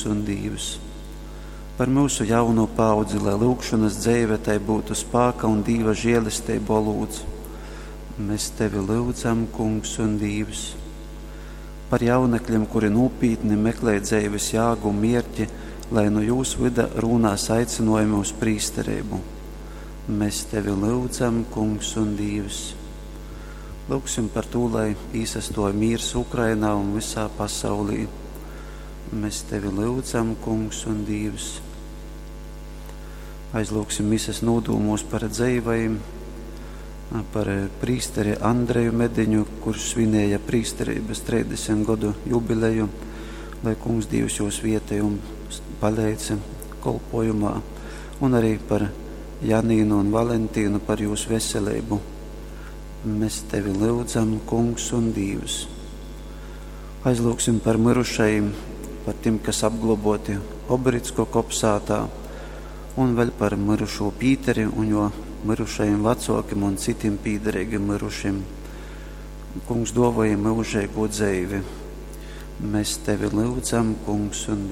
un Dīvs. Par myusu jaunū paaudzi, lai lyugšonas dzeive tai byutu spāka un Dīva žēlesteibu olūts. Mēs Tevi lyudzam, Kungs un Dīvs. Par jaunekļiem, kuri nūpītni meklē dzeives jāgu un mierķi, lai nu jūs vyda rūnās aicinojumi uz prīstereibu. Mēs Tevi lyudzam, Kungs un Dīvs. Lūgsim par to, lai īsastoja mīrs Ukrainā un visā pasaulī. Mēs Tevi lyudzam, Kungs un Dīvs. Aizlūgsim mises nūdūmos par dzeivajim, par prīsteri Andreju Mediņu, kurš svinēja prīsterības 30 godu jubileju, lai Kungs Dīvs jūs vietej un paleidz kolpojumā, un arī par Janīnu un Valentīnu par jūsu veselību. Mēs Tevi lyudzam, Kungs un Dīvs. Aizlūgsim par mirušajiem, par tiem, kas apgloboti Obricko kopsātā, un vēl par mirušo Pīteri un jo mirušajiem vecākiem un citiem pīderīgiem mirušiem. Kungs, dāvāj mūžīgo dzīvi. Mēs Tevi lūdzam, Kungs un